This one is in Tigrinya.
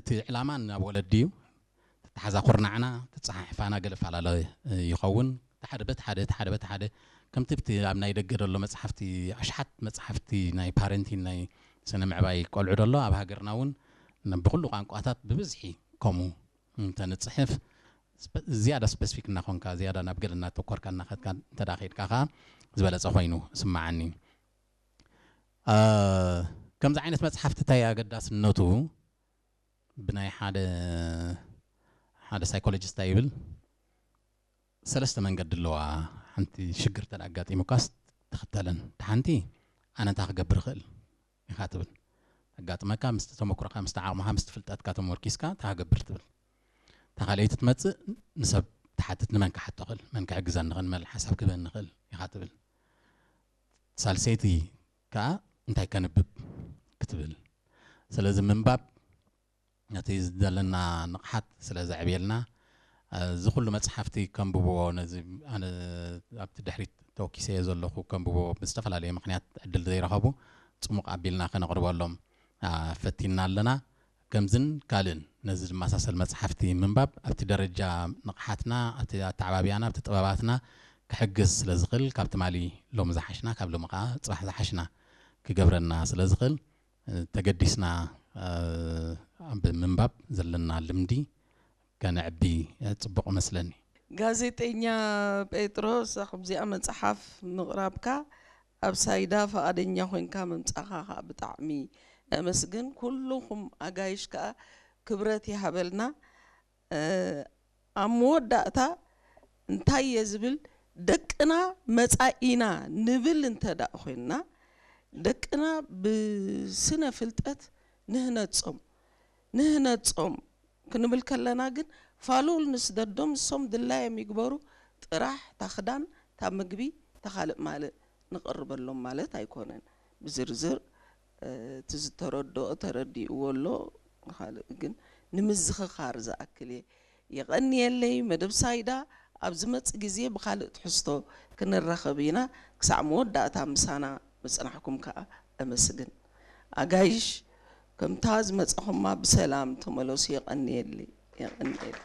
እቲ ዕላማ ናብ ወለዲ እዩ። ተተሓዛ ኩርናዕና ተፀሓሕፋና ገለ ፈላለ ይኸውን። ሓደ በቲ ሓደ እቲ ሓደ በቲ ሓደ ከምቲ ብቲ ኣብ ናይ ደገ ዘሎ መፅሓፍቲ፣ ኣሽሓት መፅሓፍቲ ናይ ፓረንቲን ናይ ስነ ምዕባይ ቆልዑ ደሎ ኣብ ሃገርና እውን ብኩሉ ቋንቋታት ብብዝሒ ከምኡ እንተንፅሕፍ፣ ዝያዳ ስፐሲፊክ እናኾንካ ዝያዳ ናብ ገለ እናተኮርካ እናኸድካ እንተዳ ከድካ ከዓ ዝበለፀ ኮይኑ ስማዓኒ። ከምዚ ዓይነት መፅሓፍቲ እንታይ ኣገዳስነቱ? ብናይ ሓደ ሓደ ሳይኮሎጂስት ይብል ሰለስተ መንገዲ ኣለዋ። ሓንቲ ሽግር ተዳ ኣጋጢሙካስ ትኽተለን፣ ሓንቲ ኣነ እንታይ ክገብር ይኽእል ኢኻ ትብል። ኣጋጥመካ ምስቲ ተመክሮካ ምስቲ ዓቕምኻ ምስቲ ፍልጠትካ ተመርኪስካ እንታይ ክገብር ትብል። እታ ካልኣይቲ ትመፅእ ንሰብ ትሓትት፣ ንመን ክሓቶ ይኽእል፣ መን ክሕግዘኒ ይኽእል፣ መን ሓሳብ ክህበኒ ይኽእል ኢኻ ትብል። ሳልሰይቲ ከዓ እንታይ ከንብብ ክትብል። ስለዚ ምንባብ ነቲ ዘለና ንቕሓት ስለ ዘዕብየልና፣ እዚ ኩሉ መፅሓፍቲ ከንብብዎ፣ ነዚ ኣነ ኣብቲ ድሕሪት ተወኪሰዮ ዘለኹ ከንብብዎ ብዝተፈላለየ ምኽንያት ዕድል ዘይረኸቡ ፅሙቕ ኣቢልና ከነቕርበሎም ፈቲና ኣለና። ከምዝን ካልእን ነዚ ዝመሳሰል መፅሓፍቲ ምንባብ ኣብቲ ደረጃ ንቕሓትና ኣብቲ ኣተዓባብያና ኣብቲ ጥበባትና ክሕግዝ ስለ ዝኽእል ካብ ትማሊ ሎም ዝሓሽና ካብ ሎም ከዓ ፅባሕ ዝሓሽና ክገብረና ስለ ዝኽእል ተገዲስና ኣብ ምንባብ ዘለና ልምዲ ከነዕቢ ፅቡቕ መስለኒ። ጋዜጠኛ ጴጥሮስ፣ ከምዚኣ መፅሓፍ ምቕራብካ ኣብ ሳይዳ ፈቓደኛ ኮይንካ ምምፃኻ ከዓ ብጣዕሚ ነመስግን። ኩልኹም ኣጋይሽ ከዓ ክብረት ይሃበልና። ኣብ መወዳእታ እንታይ እየ ዝብል፣ ደቅና መፃኢና ንብል እንተ ደኣ ኮይንና፣ ደቅና ብስነ ፍልጠት ንህነፆም ንህነፆም ክንብል ከለና ግን ፋሉል ንስደዶም፣ ንሶም ድላዮም ይግበሩ ጥራሕ፣ እታ ክዳን፣ እታ ምግቢ፣ እታ ካልእ ማልእ ንቕርበሎም ማለት ኣይኮነን። ብዝርዝር እቲ ዝተረድኦ ተረዲእዎ ኣሎ፣ ካልእ ግን ንምዝኽኻር ዝኣክል እየ። የቐንየለይ መደብ ሳይዳ። ኣብ ዝመጽእ ግዜ ብኻልእ ትሕዝቶ ክንራኸብ ኢና። ክሳዕ መወዳእታ ምሳና ምጽናሕኩም ከኣ እመስግን። ኣጋይሽ፣ ከምታ ዝመጻኹማ ብሰላም ተመለሱ። የቐንየለይ። የቐንየለይ።